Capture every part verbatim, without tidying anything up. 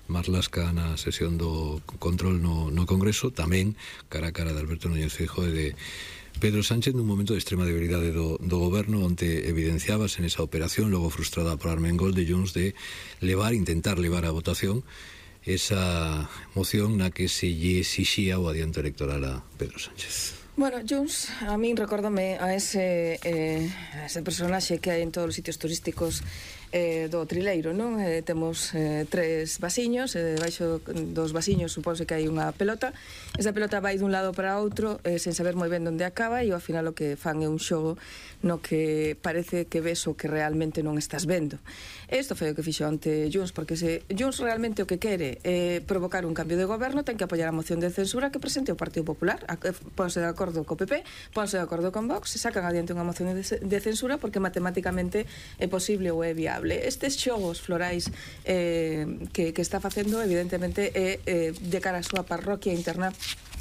Marlaska na sesión do control no, no Congreso, tamén cara a cara de Alberto Núñez Feijóo e de Pedro Sánchez nun momento de extrema debilidade do, do goberno, onde evidenciabas en esa operación, logo frustrada por Armengol de Junts, de levar, intentar levar a votación esa moción na que se lle exixía o adianto electoral a Pedro Sánchez. Bueno, Junts, a min recórdame a ese, eh, a ese personaxe que hai en todos os sitios turísticos eh, do Trileiro, non? Eh, temos eh, tres vasiños, e eh, debaixo dos vasiños supónse que hai unha pelota. Esa pelota vai dun lado para outro eh, sen saber moi ben onde acaba, e ao final o que fan é un xogo no que parece que ves o que realmente non estás vendo. Isto foi o que fixo ante Junts, porque se Junts realmente o que quere é eh, provocar un cambio de goberno, ten que apoiar a moción de censura que presente o Partido Popular, a, ponse de acordo co P P, ponse de acordo con Vox, se sacan adiante unha moción de, de censura porque matemáticamente é posible ou é viable. Estes xogos florais eh, que, que está facendo evidentemente é eh, de cara a súa parroquia interna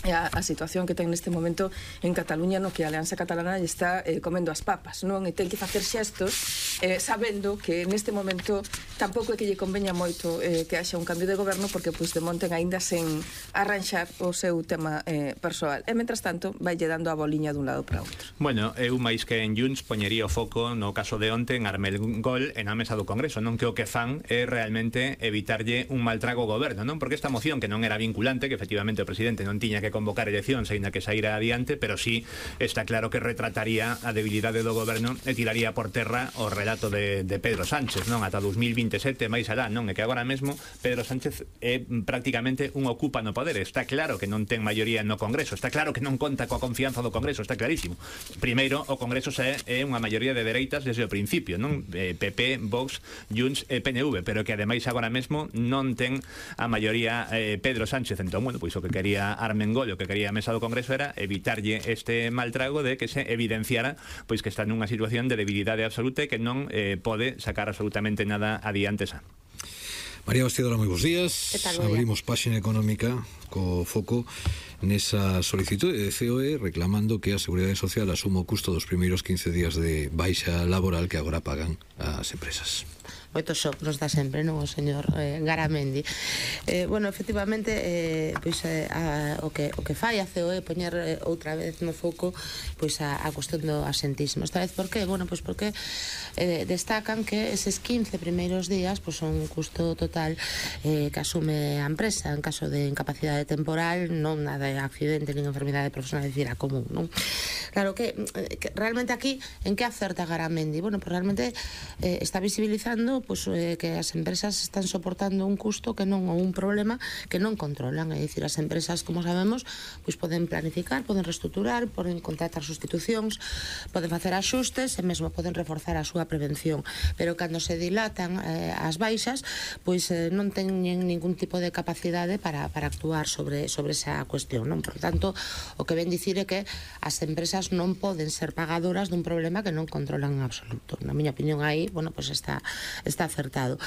a, a situación que ten neste momento en Cataluña, no que a Alianza Catalana lle está eh, comendo as papas, non? E ten que facer xestos eh, sabendo que neste momento tampouco é que lle conveña moito eh, que haxa un cambio de goberno, porque Puigdemont ten aínda sen arranxar o seu tema eh, persoal. E mentras tanto vai lle dando a boliña dun lado para outro. Bueno, eu máis que en Junts poñería o foco no caso de onte en Armengol e na mesa do Congreso, non? Que o que fan é realmente evitarlle un mal trago ao goberno, non? Porque esta moción que non era vinculante, que efectivamente o presidente non tiña que convocar eleccións aínda que saíra adiante, pero sí está claro que retrataría a debilidade do goberno e tiraría por terra o relato de, de Pedro Sánchez, non? Ata dos mil veintesete máis alá, non? E que agora mesmo Pedro Sánchez é prácticamente un ocupa no poder. Está claro que non ten maioría no Congreso, está claro que non conta coa confianza do Congreso, está clarísimo. Primeiro, o Congreso é, é unha maioría de dereitas desde o principio, non? Eh, P P, Vox, Junts e P N V, pero que ademais agora mesmo non ten a maioría eh, Pedro Sánchez. Entón, bueno, pois o que quería Armengol, o que quería a mesa do Congreso era evitarlle este mal trago de que se evidenciara pois que está nunha situación de debilidade absoluta e que non eh, pode sacar absolutamente nada adiante xa. María Bastidora, moi bons días. Abrimos páxina económica co foco nesa solicitude de C O E reclamando que a Seguridade Social asuma o custo dos primeiros quince días de baixa laboral que agora pagan as empresas. Moitos shock nos dá sempre, non, o señor eh, Garamendi. Eh, bueno, efectivamente, eh, pois, eh, a, o, que, o que fai a C O E poñer eh, outra vez no foco pois a, a cuestión do asentismo. Esta vez, por qué? Bueno, pois porque eh, destacan que eses quince primeiros días pois son un custo total eh, que asume a empresa en caso de incapacidade temporal, non nada de accidente nin enfermidade profesional, decir, a común, non? Claro que, que realmente aquí, en que acerta Garamendi? Bueno, pues realmente eh, está visibilizando pues, eh, que as empresas están soportando un custo que non, ou un problema que non controlan. É dicir, as empresas, como sabemos, pues, poden planificar, poden reestruturar, poden contratar sustitucións, poden facer axustes e mesmo poden reforzar a súa prevención, pero cando se dilatan eh, as baixas, pois eh, non teñen ningún tipo de capacidade para, para actuar sobre, sobre esa cuestión, non? Por tanto, o que ven dicir é que as empresas non poden ser pagadoras dun problema que non controlan en absoluto. Na miña opinión, aí, bueno, pues está está acertado.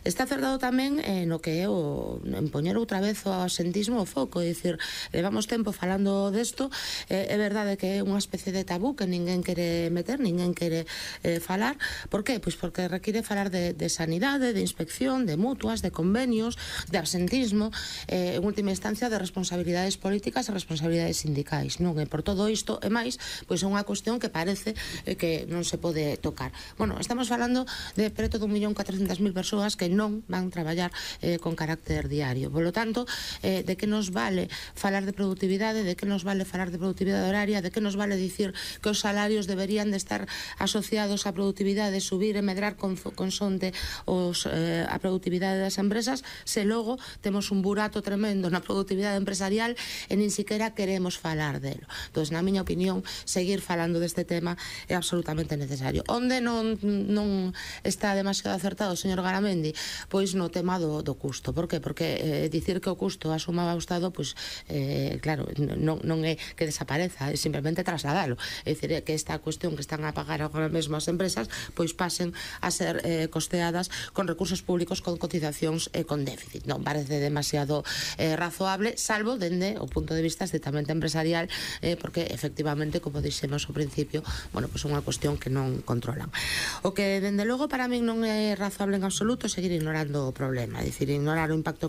Está acertado tamén eh, no que é o en poñer outra vez o asentismo o foco, é dicir, levamos tempo falando desto, eh, é verdade que é unha especie de tabú que ninguén quere meter, ninguén quere eh, falar. Por qué? Pois porque require falar de, de sanidade, de inspección, de mutuas, de convenios, de absentismo, eh, en última instancia de responsabilidades políticas e responsabilidades sindicais, non? E por todo isto e máis, pois é unha cuestión que parece eh, que non se pode tocar. Bueno, estamos falando de preto dun millón catrocentas mil persoas que non van traballar eh, con carácter diario. Por lo tanto, eh, de que nos vale falar de productividade, de que nos vale falar de productividade horaria, de que nos vale dicir que os salarios deberían de estar asociados á productividade, subir e medrar con, con sonte os, eh, a productividade das empresas, se logo temos un burato tremendo na productividade empresarial e nin siquiera queremos falar delo. Entón, na miña opinión, seguir falando deste tema é absolutamente necesario. Onde non, non está demasiado acertado o señor Garamendi? Pois no tema do, do custo. Por qué? Porque eh, dicir que o custo asumaba o Estado, pois, eh, claro, non, non é que desapareza, é simplemente trasladalo. É dicir, é que esta cuestión que están a pagar agora mesmo as empresas, pois pasen a ser eh, costeadas con recursos públicos, con cotizacións e con déficit. Non parece demasiado eh, razoable, salvo dende o punto de vista estrictamente empresarial, eh, porque efectivamente, como dixemos ao principio, bueno, pois é unha cuestión que non controlan. O que, dende logo, para min non é razoable en absoluto seguir ignorando o problema, é dicir, ignorar o impacto